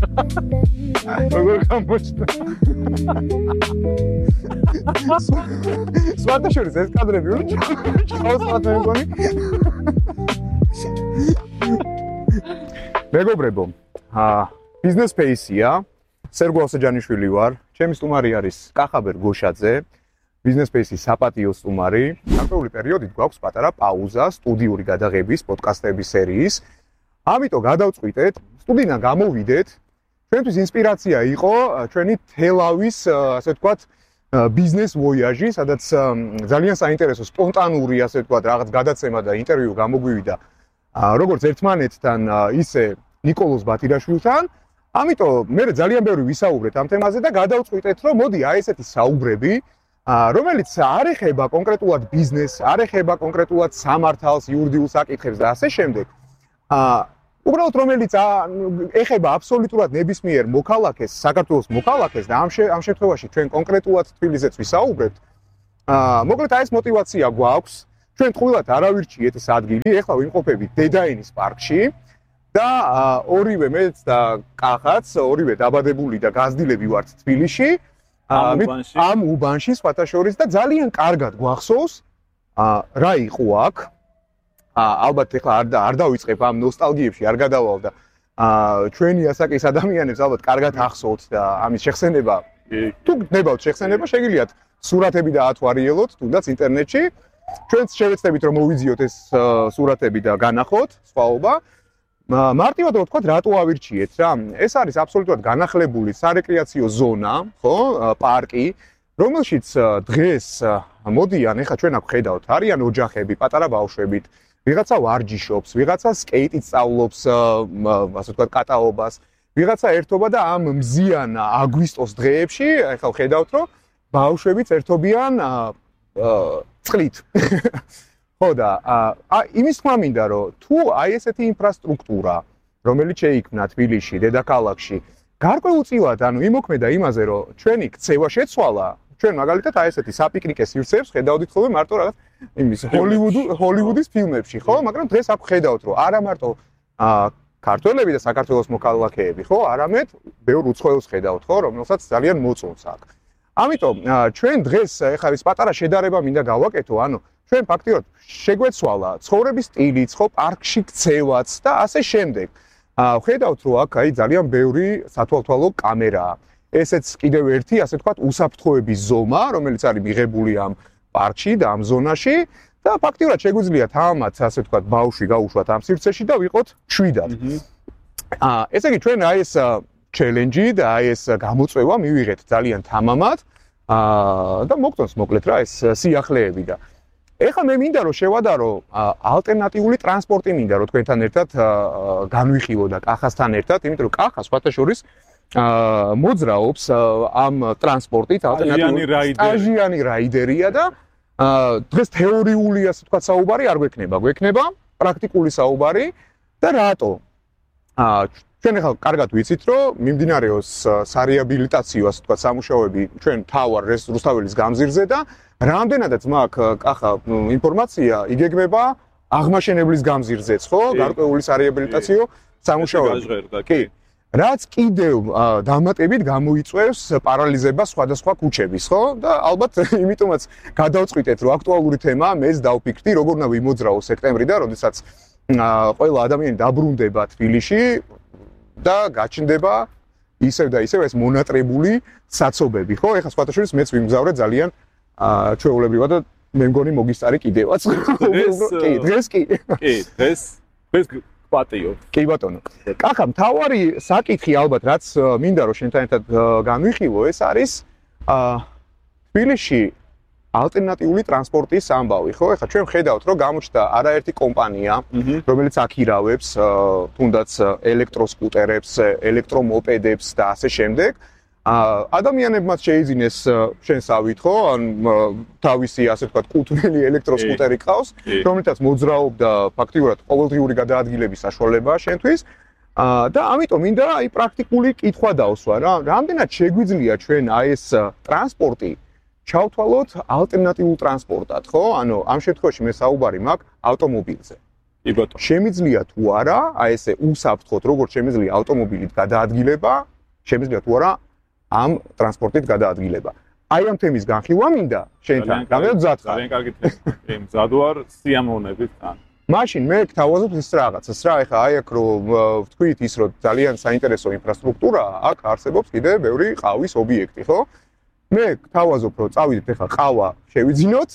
როგორ გამოჩნდა? სვათაშორის ეს კადრები უნდა ჩავსვათ მე მგონი. მეგობრებო, ბიზნეს ფეისია, სერგო ასაჯანიშვილი ვარ, ჩემი სტუმარი არის კახაბერ გოშაძე, ბიზნეს ფეისის საპატიო სტუმარი. გარკვეული პერიოდით გვაქვს პატარა პაუზა სტუდიური გადაღების პოდკასტების სერიის. ამიტომ გადავწყვიტეთ, სტუდიიდან გამოვიდეთ. ჩვენთვის ინსპირაცია იყო ჩვენი თელავის, ასე ვთქვათ, ბიზნეს ვოიაჟი, სადაც ძალიან საინტერესო სპონტანური, ასე ვთქვათ, რაღაც გადაცემა და ინტერვიუ გამოგვივიდა როგორც ერთმანეთთან, ისე ნიკოლოზ ბათირაშვილთან. ამიტომ მე ძალიან ბევრი ვისაუბრეთ ამ თემაზე და გადავწყვიტეთ, რომ მოდი აი ესეთი საუბრები, რომელიც არ ეხება კონკრეტულად ბიზნესს, არ ეხება კონკრეტულად სამართალს, იურიდიულ საკითხებს და ასე შემდეგ. უბრალოდ რომელიც ეხება აბსოლუტურად ნებისმიერ მოქალაქეს, საქართველოს მოქალაქეს და ამ შემთხვევაში ჩვენ კონკრეტულად თბილისზეც ვისაუბრებთ. მოკლედ აი ეს мотиваცია გვაქვს. ჩვენ ტყუილად არ ავირჩიეთ ეს ადგილი, ეხლა ვიმყოფებით დედაენის პარკში და ორივე მეც და კახაც, ორივე დაბადებული და გაზრდილები ვართ თბილისში. ამ უბანში სხვათა შორის და ძალიან კარგად გვახსოვს რა იყო აქ. ალბათ ეხლა არ დავიწყებ ამ ნოსტალგიებში, არ გადავალ და ჩვენი ასაკის ადამიანებს ალბათ კარგად ახსოვთ და ამის შეხსენება თუ გნებავთ შეხსენება, შეგიძლიათ სურათები დაათვალიეროთ, თუნდაც ინტერნეტში. ჩვენც შევეცდებით რომ მოვიზიოთ ეს სურათები და განახოთ, სხვაობა. მარტივად რო ვთქვათ, რატო ავირჩიეთ რა? ეს არის აბსოლუტურად განახლებული სარეკრეაციო ზონა, ხო? პარკი, რომელშიც დღეს მოდიან, ეხლა ჩვენ აქ ხედავთ, არიან ოჯახები, პატარა ბავშვებით, ვიღაცა ვარჯიშობს, ვიღაცა სკეიტით სწავლობს, ასე ვთქვათ, კატაობას, ვიღაცა ერთობა და ამ მზიან აგვისტოს დღეებში, ეხლა ხედავთ, რომ ბავშვებიც ერთობიან წყლით. ხო და იმის თქმა მინდა რომ თუ აი ესეთი ინფრასტრუქტურა რომელიც შეიქმნა თბილისში, დედაქალაქში, გარკვეულწილად იმოქმედა იმაზე რომ ჩვენი ქცევა შეცვალა, ჩვენ მაგალითად აი ესეთი საპიკნიკე სივრცეებს ხედავდით ხოლმე მარტო რაღაც იმის ჰოლივუდის ფილმებში, ხო? მაგრამ დღეს აქ ხედავთ რომ არა მარტო ქართველები და საქართველოს მოქალაქეები, ხო? არამედ ბევრ უცხოელს ხედავთ, ხო? რომელსაც ძალიან მოწონს აქ. ამიტომ ჩვენ დღეს ეხლა ის პატარა შედარება მინდა გავაკეთო, ჩვენ ფაქტიურად შეგვეცვალა ცხოვრების სტილიც, ხო, პარკში ქცევაც და ასე შემდეგ. ხედავთ რომ აქ აი ძალიან ბევრი სათვალთვალო კამერაა. ესეც კიდევ ერთი, ასე ვთქვათ, უსაფრთხოების ზომა, რომელიც არის მიღებული ამ პარკში და ამ ზონაში და ფაქტიურად შეგვიძლიათ ამათ, ასე ვთქვათ, ბავშვი გაუშვათ ამ სივრცეში და ვიყოთ 7-ად. ესე იგი ჩვენ აი ეს ჩელენჯი და აი ეს გამოწვევა მივიღეთ ძალიან თამამად და მოგწონს მოკლედ რა ეს სიახლეები და ეხლა მე მინდა რომ შევადარო ალტერნატიული ტრანსპორტი მინდა რომ თქვენთან ერთად განვიხილო და კახასთან ერთად, იმიტომ რომ კახა სხვათა შორის მოძრაობს ამ ტრანსპორტით, ალტერნატიული რაიდერია და დღეს თეორიული ასე ვთქვათ საუბარი არ გვექნება პრაქტიკული საუბარი და რატო? ჩვენ ახლა კარგად ვიცით, რომ მიმდინარეობს სარეაბილიტაციო, ასე ვთქვათ, სამუშაოები ჩვენ თავარ რუსთაველის გამზირზე და რამდენადაც მაქვს კახა ინფორმაცია, იგეგმება აღმაშენებლის გამზირზეც, ხო? გარკვეული სარეაბილიტაციო სამუშაოები. კი. რაც კიდევ დამატებით გამოიწვევს პარალიზებას სხვადასხვა ქუჩების, ხო? და ალბათ იმიტომაც გადავწყვიტეთ, რომ აქტუალური თემაა, მეც დავფიქრდი, როგორ უნდა ვიმოძრაო სექტემბრიდან, როდესაც ყველა ადამიანი დაბრუნდება თბილისში და გაჩნდება ისევ და ისევ ეს მონატრებული საცობები, ხო? ეხლა სხვათა შორის მეც ვიმგზავრე ძალიან ჩვეულებრივად და მე მგონი მოგისტარი კიდევაც. კი, დღეს კი. კი, დღეს პატიო. კი ბატონო. კახა, მთავარი საკითხი ალბათ რაც მინდა რომ შენთან ერთად განვიხილო, ეს არის თბილისში ალტერნატიული ტრანსპორტის ამბავი, ხო? ეხლა ჩვენ ხედავთ, რომ გამოჩნდა არაერთი კომპანია, რომელიც აქირავებს თუნდაც ელექტროსკუტერებს, ელექტრომოპედებს და ასე შემდეგ. ადამიანებმაც შეიძინეს შენსავით, ხო? ან თავისი, ასე ვთქვათ, კუთვნილი ელექტროსკუტერი ყავს, რომელთაც მოძრაობდა ფაქტიურად ყოველდღიური გადაადგილების საშუალებაა შენთვის. და ამიტომ მინდა აი პრაქტიკული კითხვა დავსვა რა. რამდენად შეგვიძლია ჩვენ აი ეს ტრანსპორტი ჩავთვალოთ ალტერნატიულ ტრანსპორტად, ხო? ანუ ამ შემთხვევაში მე საუბარი მაქვს ავტომობილზე. კი ბატონო. შემიძლია თუ არა, აი ესე უსაფრთხოდ, როგორც შემიძლია ავტომობილით გადაადგილება, შემიძლია თუ არა ამ ტრანსპორტით გადაადგილება. აი ამ თემის განხილვა მინდა შენთან. რამდენად მზად ხარ? ძალიან კარგი თემა. მზად ვარ სიამოვნებით თან. მაშინ მე გთავაზობ ის რაღაცას რა, ეხლა აი აქ რომ ვთქვით ის რომ ძალიან საინტერესო ინფრასტრუქტურაა, აქ არსებობს კიდე ბევრი ყავის ობიექტი, ხო? მე გთავაზობ რომ წავიდეთ ეხლა ყავა შევიძინოთ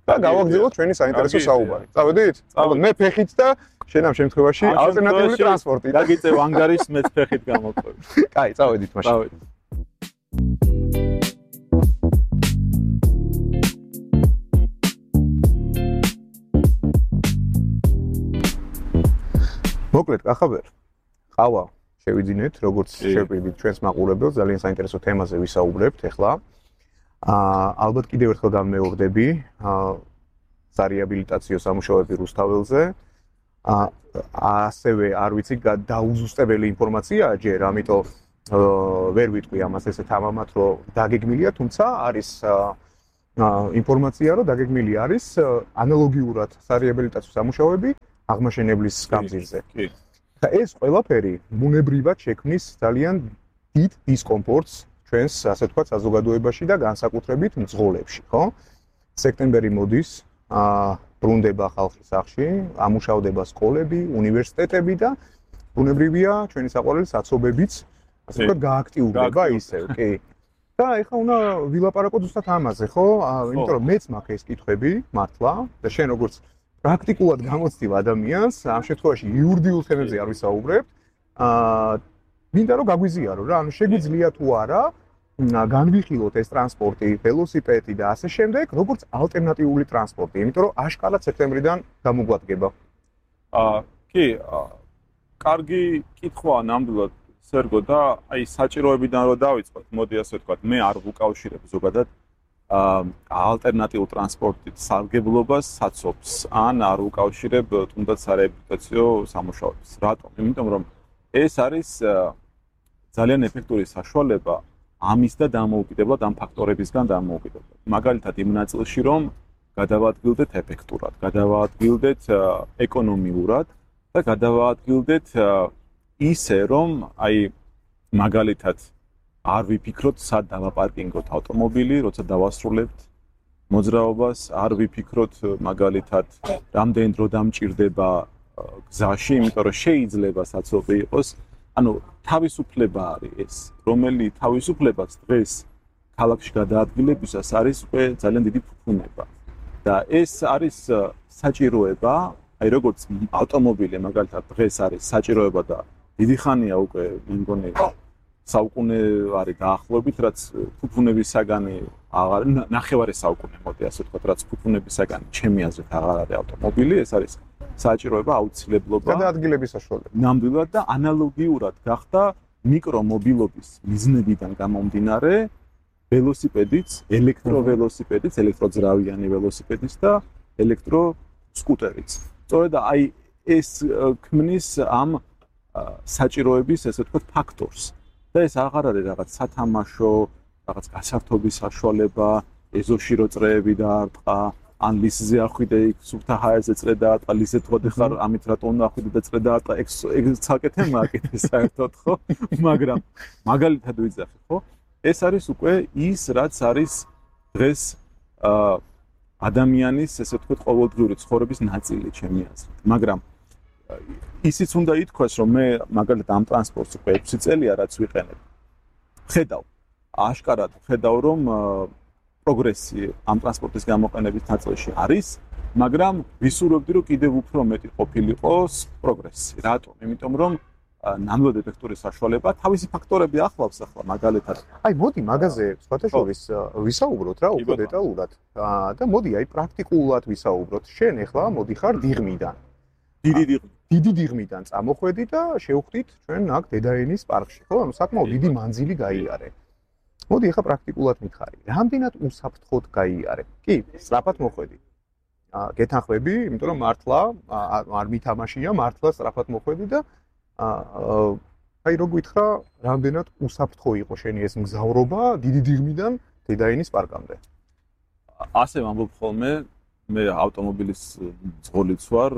და გავაგზავნოთ ჩვენი საინტერესო საუბარი. წავედით? მე ფეხით და შენ ამ შემთხვევაში ალტერნატიული ტრანსპორტი. დაგიწევ ანგარის მეც ფეხით გამოყვები. კაი, წავედით მაშინ. წავედით. მოკლედ, კახაბერ. ყავა შევიძინეთ, როგორც შევპირდით ჩვენს მაყურებელს, ძალიან საინტერესო თემაზე ვისაუბრებთ ახლა. ალბათ კიდევ ერთხელ გამეორდები, სარეაბილიტაციო სამუშაოები რუსთაველზე. ასევე არ ვიცი, დაუზუსტებელი ინფორმაციაა ჯერ, ამიტომ ვერ ვიტყვი ამას ესე თამამად, რომ დაგეგმილია, თუმცა არის ინფორმაცია, რომ დაგეგმილი არის ანალოგიურად სარეაბილიტაციო სამუშაოები აღმაშენებლის გამზირზე. კი. ეს ყველაფერი ბუნებრივად შექმნის ძალიან დიდ დისკომფორტს ჩვენს, ასე ვთქვათ, საზოგადოებაში და განსაკუთრებით მძღოლებში, ხო? სექტემბერი მოდის, ბრუნდება ხალხის სახლში, ამუშავდება სკოლები, უნივერსიტეტები და ბუნებრივია ჩვენი საყვარელი საცობებიც, ასე ვთქვათ, გააქტიურდება ისევ, კი. და ეხლა უნდა ვილაპარაკოთ ზუსტად ამაზე, ხო? იმიტომ რომ მეც მაქვს ეს კითხვები, მართლა, და შენ როგორც პრაქტიკულად გამოცდილ ადამიანს, ამ შემთხვევაში იურიდიულ თემებზე არ ვისაუბრებთ. მინდა რომ გაგვიზიარო რა, ანუ შეგვიძლია თუ არა განვიხილოთ ეს ტრანსპორტი, ველოსიპედი და ასე შემდეგ, როგორც ალტერნატიული ტრანსპორტი, იმიტომ რომ აშკარად სექტემბრიდან გამოგვადგება. კი, კარგი კითხვაა ნამდვილად სერგო და აი საჭიროებიდან რომ დავიწყოთ, მოდი ასე ვთქვათ, მე არ ვუკავშირებ ზოგადად ალტერნატიულ ტრანსპორტით სარგებლობას საცობს ან არ უკავშირებ თუნდაც სარეაბილიტაციო სამუშაოებს. რატომ? იმიტომ რომ ეს არის ძალიან ეფექტური საშუალება ამის და დამოუკიდებლად ამ ფაქტორებისგან დამოუკიდებლად. მაგალითად იმ ნაწილში რომ გადავადგილდეთ ეფექტურად, გადავადგილდეთ ეკონომიურად და გადავადგილდეთ ისე რომ აი მაგალითად არ ვიფიქროთ სად დავაპარკინგოთ ავტომობილი, როცა დავასრულებთ მოძრაობას, არ ვიფიქროთ მაგალითად რამდენ დრო დამჭირდება გზაში, იმიტომ რომ შეიძლება საცობი იყოს. ანუ თავისუფლება არის ეს, რომელი თავისუფლებაც დღეს ქალაქში გადაადგილებისას არის უკვე ძალიან დიდი ფუფუნება. და ეს არის საჭიროება, აი როგორც ავტომობილი მაგალითად დღეს არის საჭიროება და დიდი ხანია უკვე მე მგონი საუკუნე არის დაახლოებით, რაც ფუფუნების საგანი აღარ ნახევარი საუკუნე მოდი ასე ვთქვათ, რაც ფუფუნების საგანი ჩემი აზრით აღარ არის ავტომობილი, ეს არის საჭიროება, აუცილებლობა. გადაადგილების საშუალება. ნამდვილად და ანალოგიურად გახდა მიკრომობილობის მიზნებიდან გამომდინარე ველოსიპედიც, ელექტროველოსიპედიც, ელექტროძრავიანი ველოსიპედიც და ელექტროსკუტერიც. სწორედ აი ეს ქმნის ამ საჭიროების, ესე ვთქვათ, ფაქტორს. და ეს აღარ არის რაღაც სათამაშო, რაღაც გასართობის საშუალება, ეზოში რო წრეები დაარტყა, ან ლისზე ახვიდე იქ სუფთა ჰაერზე წრე დაარტყა, ლისზე თუ ხარ ამით რატომ უნდა ახვიდე და წრე დაარტყა, ეგ ცალკე თემაა კიდე საერთოდ, ხო? მაგრამ მაგალითად ვიძახი, ხო? ეს არის უკვე ის, რაც არის დღეს ადამიანის, ესე ვთქვათ, ყოველდღიური ცხოვრების ნაწილი, ჩემი აზრით. მაგრამ ისიც უნდა ითქვას, რომ მე მაგალითად ამ ტრანსპორტს უკვე 6 წელია რაც ვიყენებ. ხედავ, აშკარად ხედავ, რომ პროგრესი ამ ტრანსპორტის გამოყენების ნაწილში არის, მაგრამ ვისურვებდი, რომ კიდევ უფრო მეტი ყოფილიყოს პროგრესი. რატომ? იმიტომ რომ ნამდვილად ეფექტური საშუალება თავისი ფაქტორები ახლავს ახლა მაგალითად. აი მოდი მაგაზე სხვათა შორის ვისაუბროთ რა უფრო დეტალურად. და მოდი აი პრაქტიკულად ვისაუბროთ. შენ ახლა მოდიხარ დიღმიდან. დიდი დიღმიდან წამოხვედი და შევხვდით ჩვენ აქ დედაენის პარკში, ხო? ანუ საკმაოდ დიდი მანძილი გაიარე. მოდი ახლა პრაქტიკულად მითხარი. რამდენად უსაფრთხოდ გაიარე? კი, სწრაფად მოხვედი. გეთანხმები, იმიტომ რომ მართლა არ მითამაშია, მართლა სწრაფად მოხვედი და აი რო გითხრა, რამდენად უსაფრთხო იყო შენი ეს მგზავრობა დიდი დიღმიდან დედაენის პარკამდე. ასე ვამბობ ხოლმე, მე ავტომობილის მძღოლიც ვარ.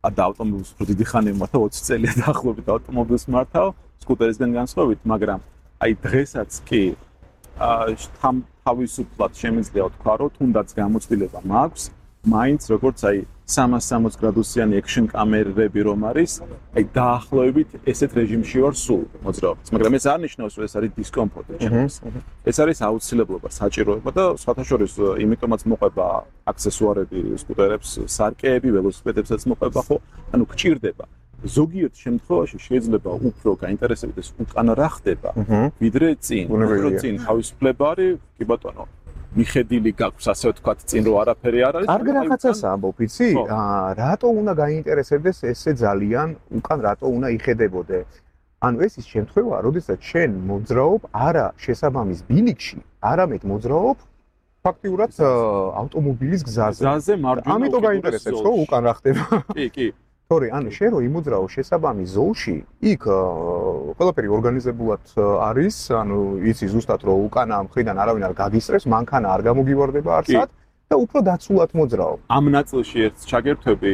და ავტომობილს უფრო დიდი ხანი მართავ 20 წელია დაახლოებით ავტომობილს მართავ სკუტერისგან განსხვავებით, მაგრამ აი დღესაც კი თავისუფლად შემიძლია ვთქვა, რომ თუნდაც გამოცდილება მაქვს, მაინც როგორც აი 360 გრადუსიანი action კამერები რომ არის, აი დაახლოებით ესეთ რეჟიმში ვარ სულ მოძრაობას, მაგრამ ეს არ ნიშნავს, რომ ეს არის დისკომფორტი ჩემთვის. ეს არის აუცილებლობა, საჭიროება და სხვათა შორის იმიტომაც მოყვება აქსესუარები სკუტერებს, სარკეები, ველოსიპედებსაც მოყვება, ხო? ანუ გჭირდება. ზოგიერთ შემთხვევაში შეიძლება უფრო გაინტერესებდეს უკან რა ხდება, ვიდრე წინ. უფრო წინ თავისუფლება არის, კი ბატონო. მიხედილი გაქვს ასე ვთქვათ წინ რომ არაფერი არ არის. კარგი რაღაცას ამბობ, იცი? რატო უნდა გაინტერესებდეს ესე ძალიან უკან რატო უნდა იხედებოდე? ანუ ეს ის შემთხვევაა, როდესაც შენ მოძრაობ არა შესაბამის ბილიკში, არამედ მოძრაობ ფაქტიურად ავტომობილის გზაზე. გზაზე მარჯვენა. ამიტომ გაინტერესებს ხო უკან რა ხდება? კი, კი. თორე ანუ შენ რო იმოძრაო შესაბამის ზოლში, იქ ყველაფერი ორგანიზებულად არის, ანუ იცი ზუსტად რომ უკანა მხრიდან არავინ არ გაგისწრებს, მანქანა არ გამოგივარდება არსად და უფრო დაცულად მოძრაო. ამ ნაწილში ერთ ჩაგერთვები